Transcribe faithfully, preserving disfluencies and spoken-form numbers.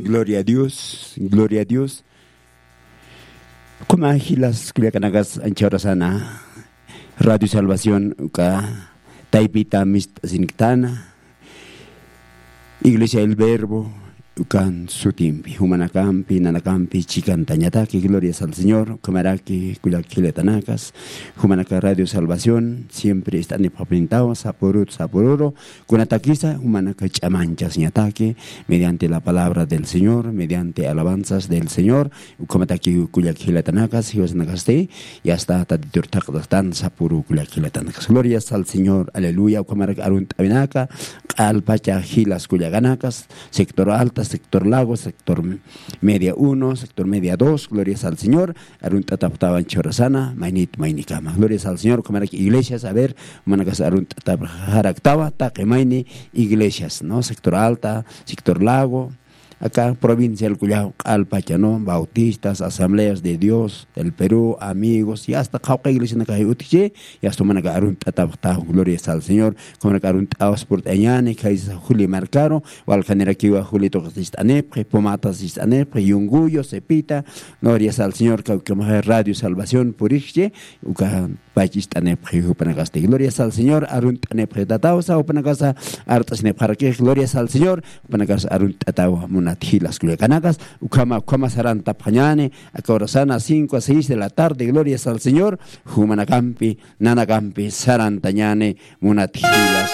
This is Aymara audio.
Gloria a Dios, gloria a Dios. Kuma jilas kullakanakas anchawrasana Radio Salvación uka taypita mist'asiniktana, Iglesia El Verbo ukan sutimpi, jumanakampi, nanakampi chikantañataki, glorias al Señor. Ukhamaraki kullak jilatanakas, jumanaka Radio Salvación siempre ist'anipxapintawa sapurut sapururu, kunatakisa jumanaka ch'amanchasñataki mediante la palabra del Señor, mediante alabanzas del Señor. Ukhamataki kullak jilatanakas, jiwasanakasti, y hasta tatitur thaqtastan sapuru kullak jilatanakas. Glorias al Señor, aleluya. Ukhamarak arunt'awinaka, q'alpacha jilas kullakanakas, sector alta, sector lago, sector media uno, sector media dos, glorias al Señor. Arunt'atapxtawan chhurasana, maynit maynikama. Glorias al Señor, ukhamarak iglesias, a ver, manakas arunt'atapxaraktawa, taqi mayni iglesias, ¿no? Sector alta, sector lago, acá provincial kullaw q'alpacha, ¿no? Bautistas, Asambleas de Dios del Perú, Amigos, y hasta qhawqa iglesianakax utji, y hasta manaka arunt'atapxta, glorias al Señor, kumanaka arunt'awas purt'añani, kaysa juli markaru, waljanirakiwa juli tuqis ist'anipxi, pumatas ist'anipxi, yunguyo, cepita, glorias al Señor, kawkamaxa Radio Salvación purixchi, uka pach ist'anipxi jupanakasti. Glorias al Señor, arunt'anipxi tatawsa, jupanakasa art'asinipxarakix, glorias al Señor, jupanakasa arunt'atawa munat jilas kullakanakas, ukhama, ukhama sarantapxañani, aka horasana cinco a seis de la tarde, glorias al Señor, jumanakampi, nanakampi, sarantañani, munat jilas